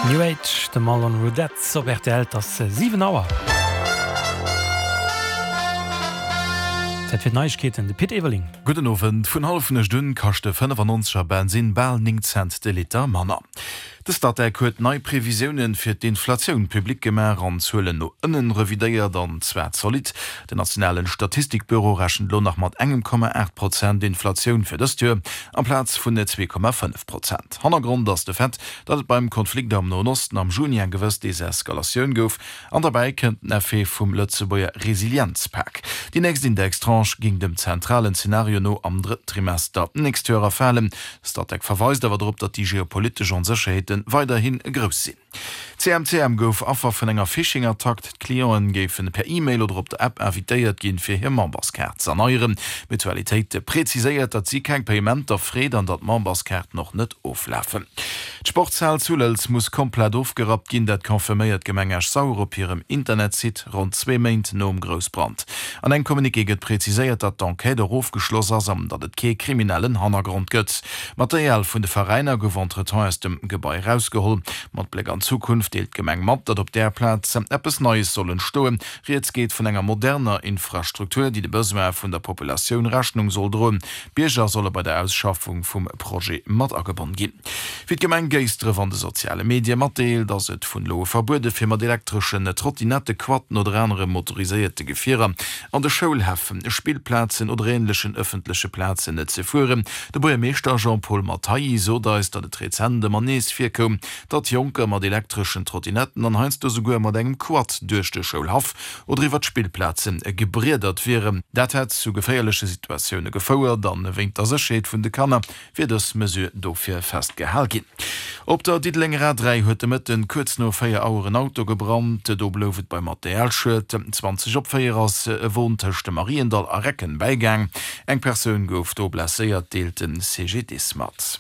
New Age, de Marlon Roudette op rtl. Et ass 7 Auer. Zäit fir d'Neiegkeeten, de Pit Everling. Gudden Owend. Vun Hallefnuecht un kascht de 95 er Bensinn bal 9 Cent de Liter manner. De Statec huet nei Previsiounen fir d'Inflatioun public gemaach an d'Zuelen no ënnen revidéiert, an zwar zolidd. Den nationalen Statistikbüro rechent elo nach mat engem Komma 8 Prozent Inflatioun fir dëst Joer, amplaz vun 2,5 Prozent. Hannergrond ass de Fait, datt et beim Konflikt am Noen Osten am Juni eng gewëss Deseskalatioun gouf, an derbäi kënnt den Effet vum Lëtzebuerger Resilienzpak. Déi nächst Indextranche géing dem zentralen Zenario no am drëtten Trimester d'nächst Joer erfalen. Statec verweist awer drop, datt déi geopolitesch Onsécherheete weiderhi grouss sinn. CMCM gouf Affer vun enger Phishing-Attack. D'Clienten géifen per E-Mail oder op der App invitéiert ginn, fir hir Memberskaart ze erneieren. D'Mutualitéit präziséiert, datt si keng Payementer freet an datt d'Memberskaarten och net oflafen. D'Sportshal zu Lëlz muss komplett ofgerappt ginn, dat confirméiert d'Gemeng Esch-Sauer op hirem Internetsite, ronn zwee Méint nom Groussbrand. An engem Communiqué gëtt präziséiert, datt d'Enquête och ofgeschloss ass an datt et kee kriminellen Hannergrond gëtt. D'Material vun de Veräiner gouf entretemps aus dem Gebai erausgeholl. Mat Bléck an d'Zukunft deelt d'Gemeng mat, datt op där Plaz eppes Neies soll entstoen. Rieds geet vun enger moderner Infrastruktur, déi de Besoine vun der Populatioun Rechnung soll droen. D'Bierger solle bei der Ausschaffung vum Projet mat agebonn ginn. Wéi d'Gemeng Géisdref an de soziale Medie matdeelt, ass et vun elo u verbuede fir mat elektreschen Trottinette, Quaden oder anere motoriséierte Gefierer an de Schoulhäff, Spillplazen oder änlechen ëffentleche Plazen ze fueren. De Buergermeeschter Jean-Paul Mathaï sot eis, datt et rezent ëmmer nees virkoum, datt Jonker mat elektreschen Trottinetten an heiansdo souguer mat engem Quad duerch de Schoulhaff oder iwwer d'Spillplaze gebriedert wieren. Dat hätt zu geféierleche Situatioune gefouert an wéint der Sécherheet vun de Kanner wier dës Mesure dofir festgehal ginn. Op der Diddelenger A3 huet de Mëtten kuerz no 4 Auer en Auto gebrannt. Do blouf et beim Materialschued. 20 op 4 ass e Won tëscht dem Mariendall a Recken bäigaang. Eng Persoun gouf do blesséiert, deelt de CGDIS mat.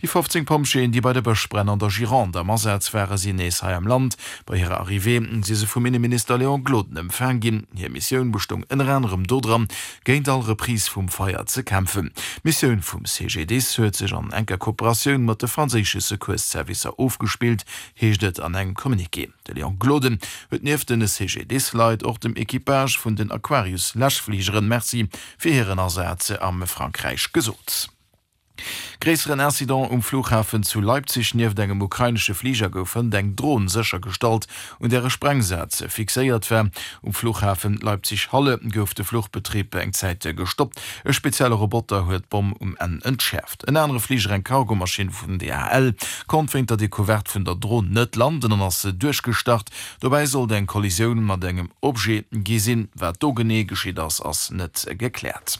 Déi 15 Pompjeeën, déi bei de Bëschbränn an der Gironde am Asaz waren, sinn nees hei am Land. Bei hirer Arrivée si se vum Inneminister Léon Gloden empfaang ginn. Hir Missioun bestoung ënner anerem dodran, géint all Reprise vum Feier ze kämpfen. D'Missioun vum CGDIS huet sech an enker Kooperatioun mat de franséische Secours-Servicer ofgespillt, heescht et an engem Communiqué. De Léon Gloden huet nieft de CGDIS-Leit och dem Equipage vun den Aquarius-Läschfligeren Merci fir hiren Asaz am Frankräich gesot. Gréisseren Incident um Flughafen zu Leipzig, Nieft engem ukrainesche Fliger gouf hënt eng Dron séchergestallt, un där e Sprengsaz fixéiert war. Um Flughafen Leipzig-Halle gouf de Fluchbetrib eng Zäit gestoppt. E spezielle Roboter huet d'Bomm um Enn entschäerft. En anere Fliger, eng Cargomaschinn vun DHL, konnt wéint der Decouverte vun der Dron net landen an ass duerchgestart. Dobäi sollt eng Kollisioun mat engem Objet gi sinn. Wat do genee geschitt ass, ass net gekläert.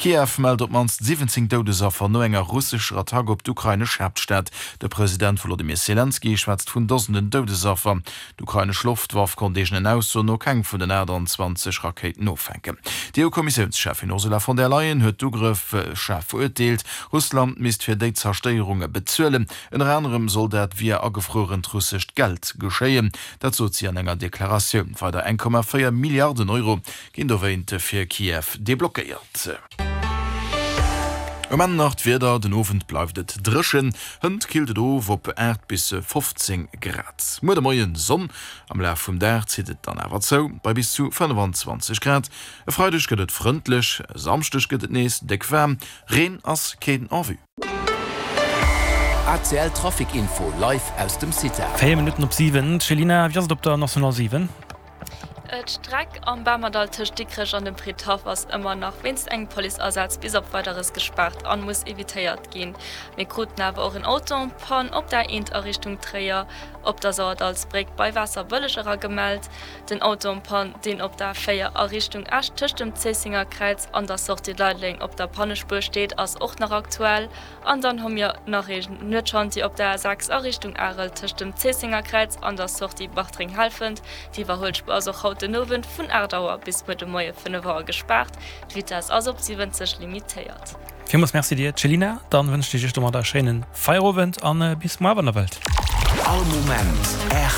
Kiew mellt op d'mannst 17 Doudesaffer no enger russescher Attack op d'ukrainesch Haaptstad. De President Wolodymyr Selenskyj schwätzt vun Dosenden Doudesaffer. D'ukrainesch Loftwaff konnt eegenen Aussoen no keng vun den 28 Rakéiten offänken. D'EU-Kommissiounscheffin Ursula von der Leyen huet d'Ugrëff schaarf verurteelt. Russland misst fir déi Zerstéierunge bezuelen. Ënner anerem soll dat via agefruerent russescht Geld geschéien. Dat sot si an enger Deklaratioun. Weider 1,4 Milliarden Euro ginn dowéint fir Kiew deblockéiert. Um Enn nach d'Wieder, Den Owend bleift et dréchen, hënt killt et of op 8 bis 15 Grad. Muer de Moien Sonn, am Laf vum Dag zitt et dann awer zou bei bis zu 25 Grad. E Freideg gëtt et frëndlech, e Samschdeg gëtt et nees déck waarm, Reen ass keen en vue. ACL Trafic Info live aus dem CITA. 4 Minutten op 7, Céline, wéi ass et op der National 7? D'Streck am Bamerdall tëscht Dikrech an dem Fridhaff ass ëmmer nach wéinst engem Policeasaz bis op Weideres gespaart an muss evitéiert ginn. Mir kruten awer och en Auto en panne op der A1 a Richtung Tréier op der Sauerdallsbréck bei Waasserbëlleg era gemellt. Den Auto en panne, deen op der A4 a Richtung Esch tëscht dem Zéissenger Kräiz an der Sortie Leideleng op der Pannespuer steet, ass och nach aktuell. An dann hu mir nach ee Nuetschantier op der A6 a Richtung Arel tëscht dem Zéissenger Kräiz an der Sortie Bartreng-Helfent. D'Iwwerhuelspuer ass och haut den Owend vun 8 Auer bis muer de Moie 5 Auer gespaart. D'Vitess ass op 70 limitéiert. Villmools Merci dir Céline, dann wënschen ech iech domadder e schéinen Feierowend an bis muar wann der wëllt. All Moment rtl.